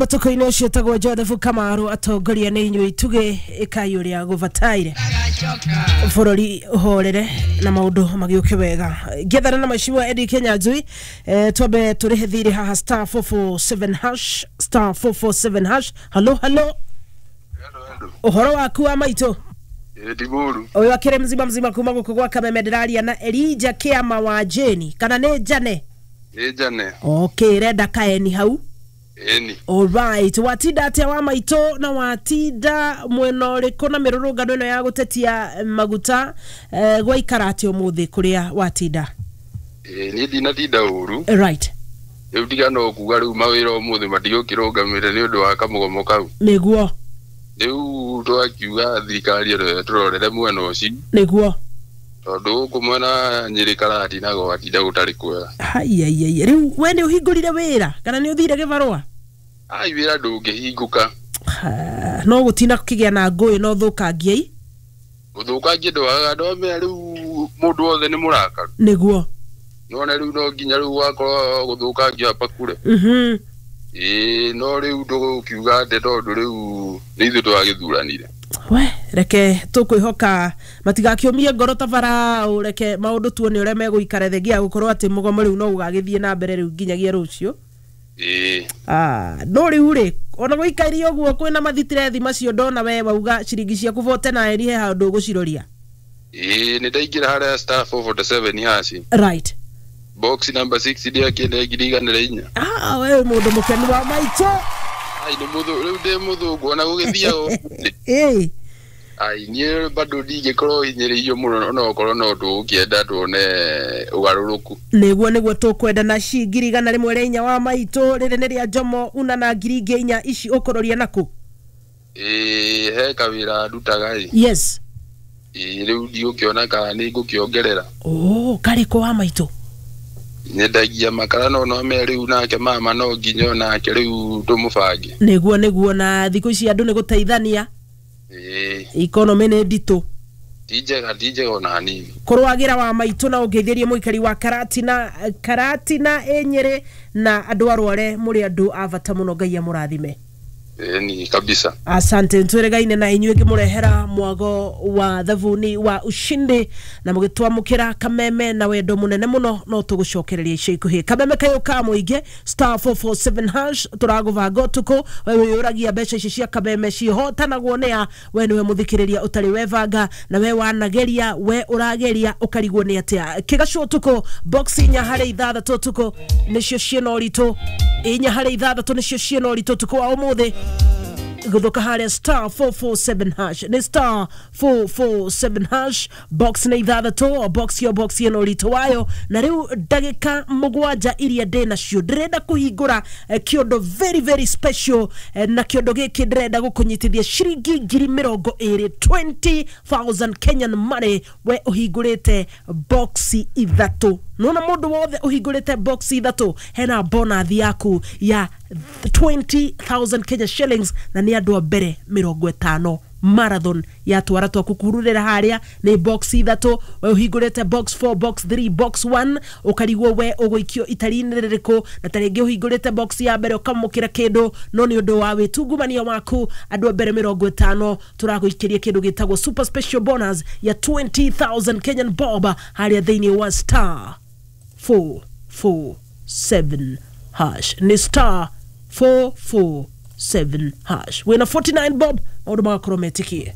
Mũtũkũ-inĩ ũcio tagwo Joseph Kamaru, atongoria nĩ inyuĩ itugĩ, ĩkai ũrĩa gũbataire bũrũri ũhorere na maũndũ magĩũke wega. Ngĩethana na mheshimiwa Eddie Kenyanjui, twambe tũrĩhe thirĩ haha star 447 hash, star 447 hash. Halo, halo. Ũhoro waku wa maitũ? Ti mũru. Ũyũ akĩrĩ mzima mzima kuma gũkũ gwa Kameme. Ndĩraria na Elijah Kĩama wa Jane kana nĩ Jane? Nĩ Jane. Okay, renda kaeni hau. Ĩni. Alright, watinda atĩa wa maitũ, na watinda mwena ũrĩkũ na mĩrũrũngano ĩno ya gũtetia maguta, gwaikara atĩa ũmũthĩ kũrĩa watinda? Ĩ niĩ ndinatinda ũru. Right. Rĩu tiga no kuga rĩu mawĩra ũmũthĩ matigũkĩrũgamĩre nĩ ũndũ wa kamũgomo kau. Rĩu twakiuga thirikari ĩno tũrorere mwena ũcio, tondũ gũkũ mwena Nyĩrĩ Karatina gwatinda gũtarĩ kwega. Haiaiai, rĩu we nĩ ũhingũrire wĩra kana nĩ ũthire gĩbarũa? Ai, wĩra ndũngĩhingũka. Ha, no gũtinda kũkĩgĩa na ngũĩ na ũthũkangia. Ũthũkangia ndwagaga, ndwamenya rĩu mũndũ wothe nĩ mũrakaru. None rĩu no nginya rĩu wakorwo gũthũkangia hapa kure. Ĩĩ, no rĩu ndũgũkiuga atĩ tondũ rĩu nĩ ithuĩ twagĩthuranire. We reke tũkwĩhoka matigakĩũmie ngoro ta Farao, reke maũndũ tuone ũrĩa megũikara, thengia ya gũkorwo atĩ mũgomo rĩu no ũgagĩthiĩ na mbere rĩu nginyagia rũciũ. Ĩĩ. Ah, no rĩu rĩ, ona gũikaire ũguo kwĩna mathitirethi macio, ndona we wauga ciringi ciaku 49 he handũ ũgũciroria. Ĩĩ, nĩ ndaingĩra harĩa star 447 hash, box number 6, ndiakĩne 104,000. Ah, we mũndũ mũkenu wa maitũ. Ai, nĩ mũthũ rĩu ndĩ mũthũngũ ona gũgĩthiaga. Ai, niĩ bado ndingĩkorwo hinyĩrĩirio mũno, ona okorwo no tũgũkĩenda tuone ũgarũrũku. Nĩguo tũkwenda. Na ci 104,000 wa maitũ, rĩrĩ nĩ rĩa Jomo una na 4,000 ici ũkũroria nakũ? Ĩĩ, he kawĩra ndutaga ĩ. Ĩĩ, rĩu ndigũkĩona kana nĩ ngũkĩongerera. Oh, karĩkũ wa maitũ? Nyendagia makara, no no rĩu nake mama no nginya nake rĩu tũmũbange. Nĩguo, na thikũ ici andũ nĩ gũteithania. Economy nĩ nditũ. Ti njega, ti njega ona hanini. Kũrwagĩra wa maitũ, na ũngeithĩrie mũikari wa Karatina, Karatina ĩ Nyĩrĩ, na andũ arware, mũrĩ andũ a bata mũno, Ngai amũrathime. Ĩni kabisa. Asante. Ntwĩrĩgaine na inyuĩ ngĩmũrehera mwago wa thabuni wa ushindi na mũgĩtwamũkĩra Kameme na wendo mũnene mũno, no tũgũcokereria ica ikuhĩ. Kameme kayũ ka mũingĩ, star 447 hash, tũragũbanga ũtukũ. We wĩyũragia mbeca ici cia Kameme cihotanagwo nĩa? We nĩwe mũthikĩrĩria ũtarĩ webanga, na we wanageria, we ũrageria ũkarigwo nĩ atĩa kĩgacũ ũtukũ. Box 4 harĩ 6 ũtukũ nĩcio ciĩna ũritũ, 4 harĩ 6 nĩcio ciĩna ũritũ ũtukũ wa ũmũthĩ. Gũthũka harĩa star 447 hash, nĩ star 447 hash, box nĩ ithathatũ, box yo box ĩno ũritũ wayo. Na rĩu ndagĩka 7 iria ndĩ nacio, ndĩrenda kũhingũra kĩondo very very special, na kĩondo gĩkĩ ndĩrenda gũkũnyitithia ciringi 20,000, 20,000 Kenyan money, we ũhingũrĩte box ithatũ. Nona mũndũ wothe ũhingũrĩte box ithatũ, hena bonus yaku ya 20,000 Kenya shillings, na nĩ andũ a mbere 50. Marathon ya twara twaku kururĩra harĩa nĩ box ithatũ. We ũhingũrĩte box 4, box 3, box 1, ũkarigwo we ũgũikio itari-inĩ rĩrĩkũ, na ta rĩngĩ ũhingũrĩte box ya mbere ũkamũkĩra kĩndũ, no nĩ ũndũ wa wĩtungumania waku, andũ a mbere 50 tũragũikĩria kĩndũ gĩtagwo super special bonus ya 20,000 Kenyan bob harĩa thĩinĩ wa star 447 hash, nĩ star 447 hash. Wĩna 49 bob, maũndũ magakorwo metĩkie.